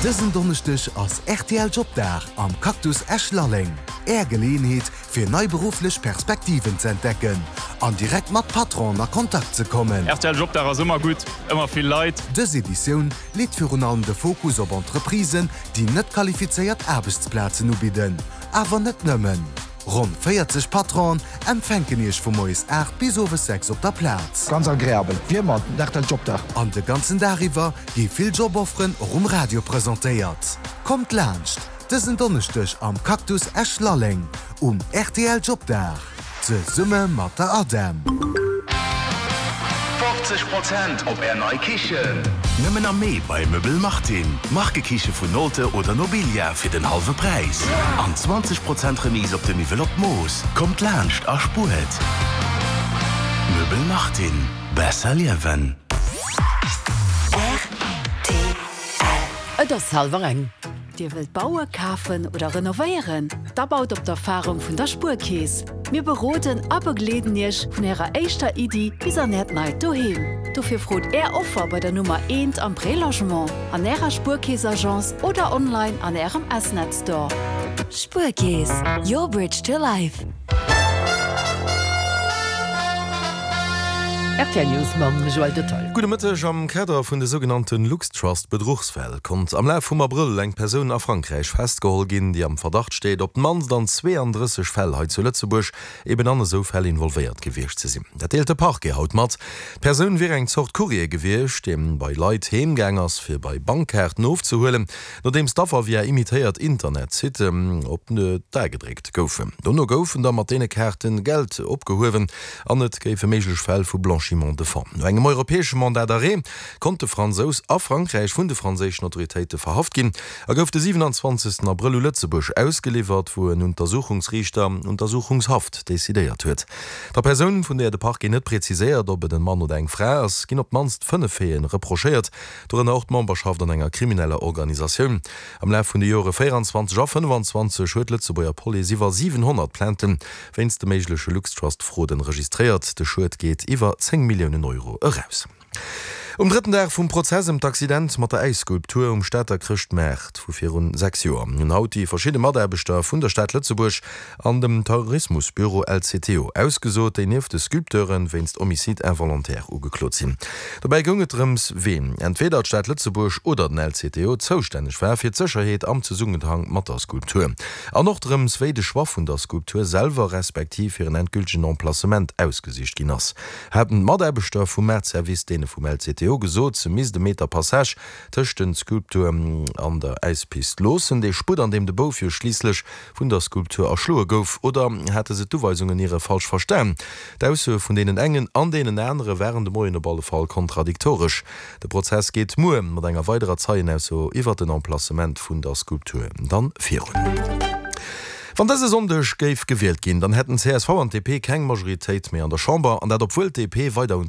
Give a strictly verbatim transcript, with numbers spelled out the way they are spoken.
Dësen Donneschdeg ass R T L Jobdag am Cactus Esch-Lalleng. Är Geleeënheet fir nei berufflech Perspektiven ze entdecken an direkt mat Patronen a Kontakt ze kommen. R T L Jobdag ass ëmmer gutt, ëmmer vill Leit. Dës Editioun leet virun allem de Fokus op Entreprisen, déi net qualifizéiert Aarbechtsplazen ubidden. Awer net nëmmen. Ronn véierzeg Patronen empfänken iech vu moies aacht bis owes sechs op der Plaz. Ganz agreabel, wéi ëmmer den R T L Jobdag. An de ganzen Dag iwwer gi vill Jobofferen och um Radio presentéiert. Kommt laanscht dësen Donneschdeg am Cactus Esch-Lalleng um R T L Jobdag zesumme mat der ADEM. fofzeg Prozent op Är nei Kichen! Nëmmen am Mee bei Möbel Martin. Markekiche vun Nolte oder Nobilia fir den hallwe Präis. An zwanzeg Prozent Remise op de Miwwel op d'Mooss. Kommt laanscht a spuert! Möbel Martin. Besser liewen. Et ass hallwer eng. Dir wëllt bauen, kafen oder renovéieren? Da baut op d'Erfarung vun der Spuerkeess. Mir beroden a begleeden Iech vun Ärer éischter Iddi bis an Äert neit Doheem. Dofir frot Är Offer bei der Nummer eent am Prélogement, an Ärer Spuerkeess-Agence oder online an Ärem S-Net Store. Spuerkeess, your bridge to life. R T L News mam Joël Detail. Gudde Mëtteg, Am Kader vun de sougenannten LuxTrust-Bedruchsfäll konnt am Laf vum Abrëll eng Persoun a Frankräich festgeholl ginn, déi am Verdacht steet, op d'mannst an zweeëndrësseg Fäll hei zu Lëtzebuerg eben an esou Fäll involvéiert gewiescht ze sinn. Dat deelt de Parquet haut mat. D'Persoun wier eng Zort Courrier gewiescht, dee bei Leit heem gaang ass, fir bei Bankkaarten ofzehuelen, nodeems d'Affer via imitéiert Internetsitten op d'A gedréckt goufen. Dono goufen da mat deene Kaarte Geld opgehuewen an et géife méiglech Fäll vu Blanchiment de fonds. No engem europäesche Mandat d'arrêt konnt de Fransous a Frankräich vun de franséischen Autoritéite verhaft ginn a gouf de siwenanzwanzegsten Abrëll u Lëtzebuerg ausgeliwwert, wou en Untersuchungsriichter Untersuchungshaft decidéiert huet. Der Persoun, vun där de Parquet net preziséiert, ob et en Mann oder eng Fra ass, ginn op d'mannst fënnef Faiten reprochéiert, dorënner och d'Memberschaft an enger krimineller Organisatioun. Am Laf vun de Jore véieranzwanzeg a fënnefanzwanzeg huet d'Lëtzebuerger Police iwwer siwenhonnert Plainten wéinst de méigleche LuxTrust-Fraude registréiert. De Schued geet iwwer zéng Milliounen Euro eraus. Um drëtten Dag vum Prozess ëm d'Accident mat der Äisskulptur um Stater Chrëschtmaart vu virun sechs Joer hunn haut déi verschidde Mataarbechter vun der Stad Lëtzebuerg an dem Tourismusbüro L C T O ausgesot, déi nieft de Sculpteure wéinst Homicide involontaire ugeklot sinn. Dobäi goung et drëms, ween, entweeder d'Stad Lëtzebuerg oder den L C T O, zoustänneg war fir d'Sécherheet am Zesummenhang mat der Skulptur. An och drëms, wéi de Choix vun der Skulptur selwer respektiv hiren endgültegen Emplacement ausgesicht ginn ass. Haten d'Mataarbechter vum Maartservice deene vum L C T O gesot, se misst e Meter Passage tëscht der Skulptur an der Äispist loossen, dee Sputt, an deem de Bouf jo schliisslech vun der Skulptur erschloe gouf, oder hate se d'Uweisungen iere falsch verstan? D'Aussoe vun deenen engen an deenen anere waren de Moien op alle Fall kontradiktoresch. De Prozess geet muer mat enger weiderer Zeienausso iwwer den Emplacement vun der Skulptur dann virun. Wann dëse Sonndeg géif gewielt ginn, dann hätten C S V an D P keng Majoritéit méi an der Chamber, an dat obwuel d'D P weider un